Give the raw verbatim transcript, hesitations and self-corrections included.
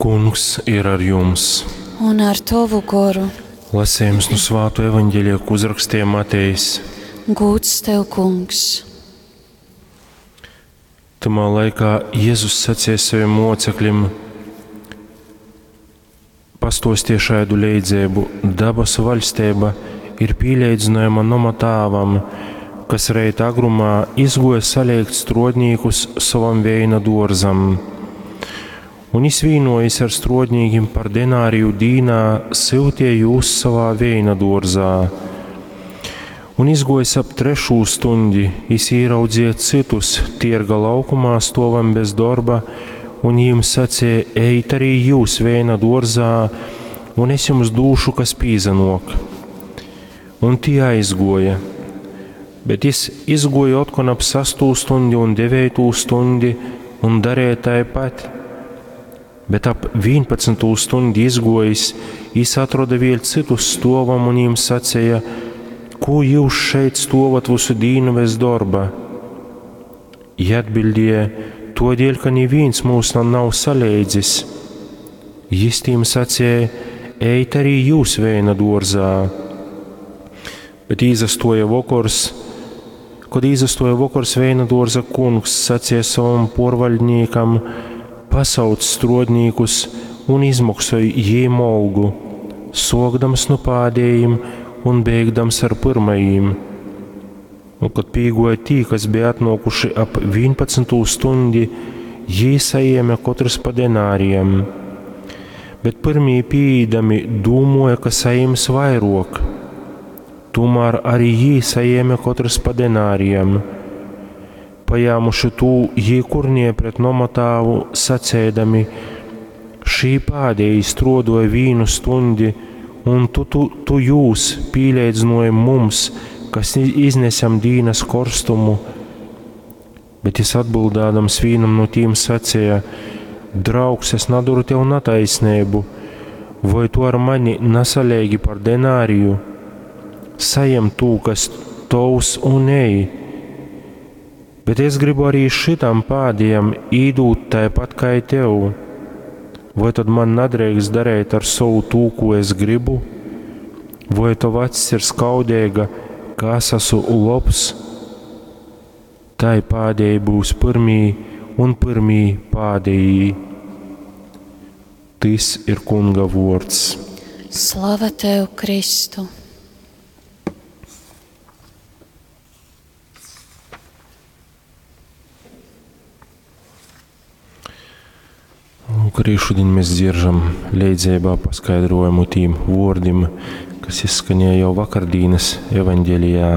Kungs ir ar jums. Un ar tovu goru. Lasījums no Svāto evaņģēlija, ko uzrakstīja Matejs. Gūds tev, Kungs. Tamā laikā Jēzus sacīja saviem mocekļiem: Pastostie šādu leidzēbu, dabasu vaļstība ir pīleidzinājama noma tāvam, kas reit agrumā izgoja saliekt strodnīkus savam veina dorzam. Un izvīnojis ar strodnīkim par denāriju dīnā, syutie jūs savā veina dorzā. Un izgojis ap trešū stundi, jis īraudzīja citus tierga laukumā stovam bez darba, un jiem sacīja: Ejit arī jūs veina dorzā, un es jums dūšu, kas pīzanok. Un tie aizgoja. Bet jis izgoja otkon ap sastū stundi un deveitū stundi un darīja taipat. Bet ap vienpadsmitū stundi izgojis, jis atrada vēl citus stovam un jiem sacīja: Ko jūs šeit stovat visu dīnu bez darba? Jie atbildēja: Todēļ, ka neviens mūs nav saleidzis. Jis tiem sacīja: Ejit arī jūs veina dorzā. Bet izastoja vokors, kad izastoja vokors, veina dorza kungs sacīja savam porvaļdniekam: Pasauc strodnīkus un izmaksoj jiem algu, sokdams no pādējiem un beigdams ar pirmajiem. Un, kad pīgoja tī, kas bija atnākuši ap vienpadsmitū stundi, jī saēma katrs pa denārijam. Bet pirmī pīdami dūmoja, ka saīms vairok. Tomēr arī jī saēma katrs pa denārijam. Pajāmuši tū, jī kurnie pret nomatāvu, sacēdami: Šī pādēji strodoja vīnu stundi, un tu, tu, tu jūs pīleidzinoji mums, kas iznesam dīnas korstumu. Bet jis atbildādams vīnam no tīm sacīja: Draugs, es naduru tev nataisnību, vai tu ar mani nasalēgi par denāriju? Sajem tū, kas tovs, un ej. Bet es gribu arī šitam pādījam īdūt tāpat kā tev. Vai tad man nedrīkst darīt ar savu tū, ko es gribu? Vai tava acis ir skaudīga, ka es esmu lobs? Tai pādēji būs pirmī un pirmī pādējī. Tis ir Kunga vords. Slava tev, Kristu! Lūk, arī šodien mēs dzieržam leidzībā paskaidrojumu tīm vordim, kas izskanēja jau vakardīnas evaņģēlijā.